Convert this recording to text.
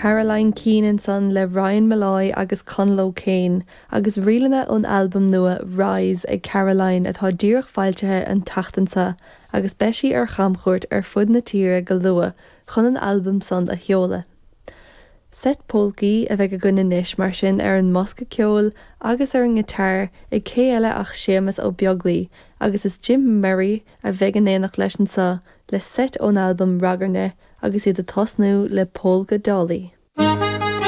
Caroline Keane ansan le Ryan Molloy agus Conall O'Kane agus ríleanna ón albam nua Rise ag Caroline atá díreach foilsithe an tseachtain seo agus beidh sí ar chamchuairt ar fud na tíre go luath chun an albam san a sheoladh. Seit pólcaí a bheidh againn anois mar sin ar an mbosca ceoil agus ar an ngiotár ag cé eile ach Séamus Ó Beaglaoi agus is Jim Murray a bheidh in éineacht leis anso le seit ón albam Ragairne agus iad ag tosnú le Polka Dolly.